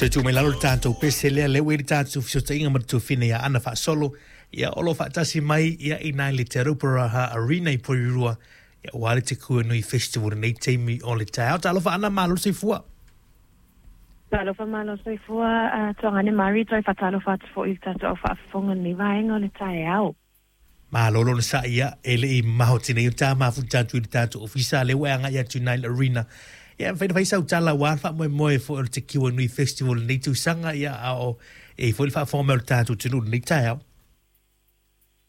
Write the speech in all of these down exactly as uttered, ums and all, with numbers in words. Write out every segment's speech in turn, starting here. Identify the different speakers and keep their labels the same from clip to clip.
Speaker 1: Toe mai lalo le tatou pese lea lea ua i le tatou fesootaiga ma le tuafine ia Ana Faasolo, ia o lo o faatasi mai ia i nai le Te Rauparaha Arena i Porirua, ia ua le Te Kuanui Festival lenei taimi o le taeao. Talofa Ana, malo le soifua.
Speaker 2: Talofa, malo soifua, uh, tuagane Mari, toe faatalofa atu foʻi i le tatou au faafofoga lenei vaega o le taeao.
Speaker 1: Malo lona sa ia e le i maho tine i tā mafu tātou i le tatou ofisa le ua anga ia tu nai le arena. Ia whai whai sau tala wā wha moe moe fo o le Te Kiwa Nui Festival lenei tausaga ia a o e foi le faafofoga mai o le tatou atunuu lenei taeao.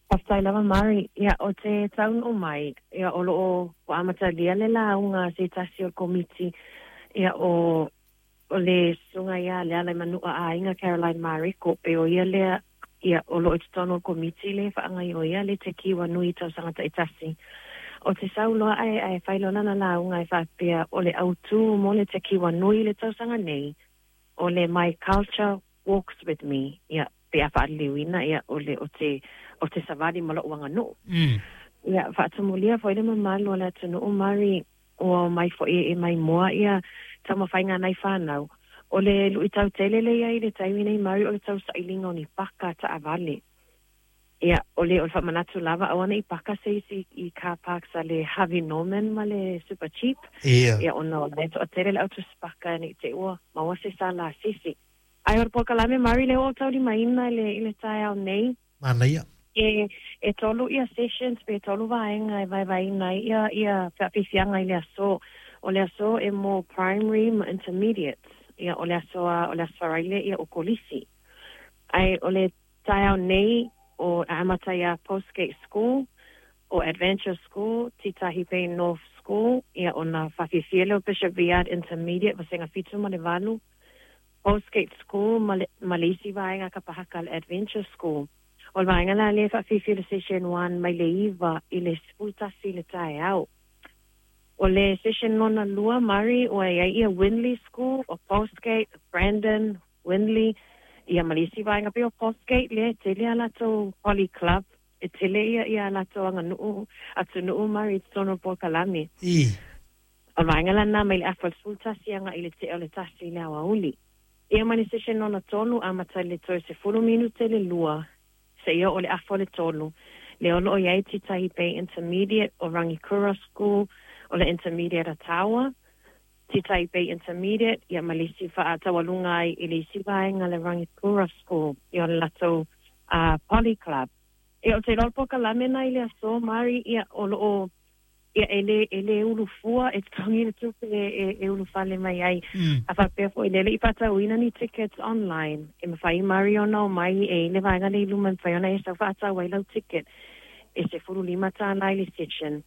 Speaker 2: Faafetai lava Mari, ia o te taunuu mai, ia o loo ua amatalia le lauga a se tasi o le komiti, ia o o le susuga ia Lealaimanua Aiga Caroline Mareko pe o ia lea ia o loo i totonu o le komiti le faagaioia le Te Kiwa Nui i tausaga taitasi. O te sauloa ae ae fai loa lana lauga e faapea o le autū mo le Te Kiwa Nui i le tausaga nei, o le "My Culture Walks With Me", ia pe a faaliliuina ia o le o te o te savali ma loʻu aganuu.
Speaker 1: Mm.
Speaker 2: Ia faatumulia foʻi le mamalu o le atunuu Mari ua omai foʻi e maimoa ia taumafaiga a nai fanau. O le luʻitau tele le iai i le taimi nei Mari o le tausailiga o ni paka taavale. Ia o le o le faamanatu lava aua nei paka se isi i car parks a le Harvey Norman ma le Super Cheap.
Speaker 1: Ia.
Speaker 2: Ia ona o le toatele le au tusipaka nei te ua maua se sa lasisi. Ae o le polokalame Mari le o taulimaina i le i le taeao nei.
Speaker 1: Manaia.
Speaker 2: E e tolu ia sessions pe tolu vaega e vaevaeina ai ia ia feafiafiaga i le aso. O le aso e mo primary ma intermediate. Ia o le aso a o le aso Faraile ia o kolisi. Ae o le taeao nei o amata ia Postgate School, o Adventure School, Titahi Bay North School, ia ona faafiafia lea o Bishop Viard Intermediate vasega fitu ma le valu, Postgate School ma le, ma le isi vaega kapahaka le Adventure School. O le vaega la lea e faafiafia le session one mai le iva i le sefulu tasi i le taeao. O le session lona lua Mari ua iai ia Winley School, o Postgate, Brandon, Winley, ia ma le isi vaega pei o Postgate lea e tele a latou Poly Club, e tele ia ia latou aganuu atunuu Mari i totonu o le polokalame.
Speaker 1: I.
Speaker 2: O le vaega lana mai le afa o le sefulu tasi agaʻi i le tea o le tasi i le aoauli. Ia ma le session lona tolu amata i le toe sefulu minute le lua seia oo i le afa o le tolu. Lea o loo iai Titahi Bay Intermediate, o Rangikura School, o le Intermediate a Taua, Titahi Bay Intermediate, ia ma le isi faataualuga ai i le isi vaega le Rangikura School, ia o le latou uh, Poly Club. Ia o te iloa le polokalame na i le aso Mari ia o loo ia e le e le ulufua e totogi le tupe e, e, e ulufale mai ai.
Speaker 1: Mm.
Speaker 2: A faapea foʻi le leʻi faatauina ni tickets online. E mafai Mari ona omai e i le vaega le i luma e mafai ona e sau faatau ai lau ticket. E sefulu lima tālā i le session.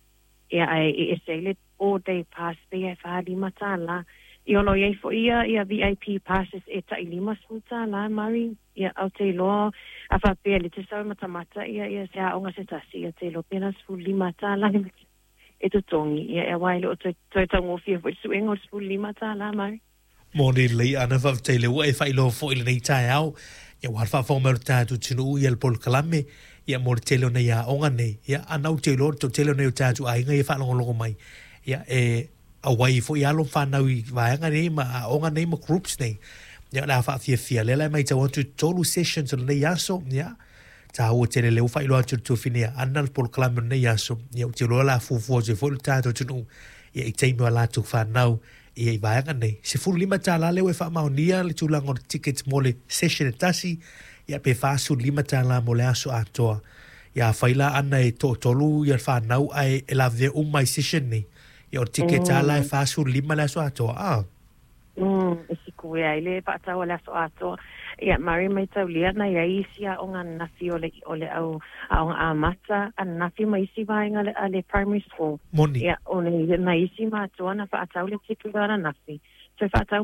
Speaker 2: Ia ae e ese ai le all day pass pe ia e fahalima tālā. Ia o lo o iai foʻi ia ia V I P passes e taʻi lima sefulu tālā Mari. Ia ou te iloa a faapea le te sau e matamata ia ia se aoga se tasi ia te iloa pena sefulu lima tālā e totogi. Ia e auā e le o toe toe taugofie foʻi le suʻega o le sefulu lima tālā Mari.
Speaker 1: Moni lelei Ana, faafetai le ua e faailoa foʻi lenei taeao. Ia ua faafofoga mai o le tatou atunuu ia le polokalame ia mo le tele o nei aoga nei. Ia ana ou te iloa le toatele o nei o tatou aiga ia faalogologo mai. Ia e auai foʻi alo ma fanau i vaega nei ma aoga nei ma groups nei. Ia o le a faafiafia lea la e matau atu tolu sessions o lenei aso. Ia taua tele le ua faailoa atu le tuafine ia Ana le polokalame o lenei aso. Ia ou te iloa la fuafua atu ai foʻi le tatou atunuu ia i taimi o a latou fanau ia i vaega nei. Sefulu lima tālā lea ua e faamaonia le tulaga o le ticket mo le session e tasi, ia pe fasefulu lima tālā mo le aso atoa. Ia afai la Ana e toatolu ia le fanau ae e lavevea uma i session nei. Ia o le ticket lava la e
Speaker 2: Mm.
Speaker 1: fasefulu lima le aso atoa. Ah.
Speaker 2: Mm, e siku e ai le faatau o le aso atoa. Ia Mari maitaulia na iai isi aoga ananafi o le o le au aoga amata ananafi ma isi vaega le a le primary school.
Speaker 1: Moni.
Speaker 2: Ia o le na isi matua na faatau le ticket o ananafi. Toe faatau ma